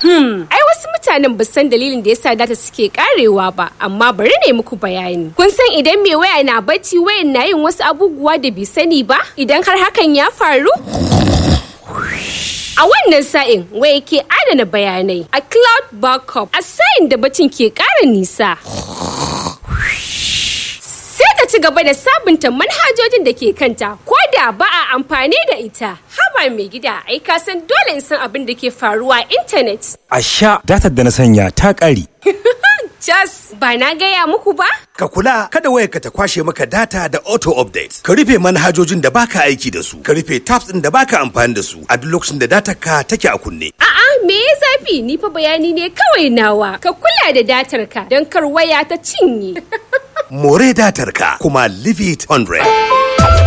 Ai wasu mutanen ba san dalilin da yasa data suke karewa ba, amma bari ne muku bayani. Kun san idan mai waya na bacci, wayan na yin wasu abubuwa da bai sani ba? Idan har hakan ya faru? A wannan sa'in waya ke adana bayanai a cloud backup, a sa'in da bacin ke ƙara nisa. Sai ta ci gaba da sabunta manhajojin da ke kanta ko da ba a amfani da ita. Haba mai gida, ai ka san dole in san abin da ke faruwa a intanet. A sha datar da na sanya ta ƙare. Just ba na gaya muku ba? Ka kula kada wayarka ta kwashe maka data da auto update. Ka rufe manhajojin da baka aiki da su. Ka rufe tabs ɗin da baka amfani da su a duk lokacin da datar ka take a kunne. A'a, me ya zafi? Ni fa bayani ne kawai nawa. Ka kula da datar ka don kar waya ta cinye. More datar ka kuma leave it 100.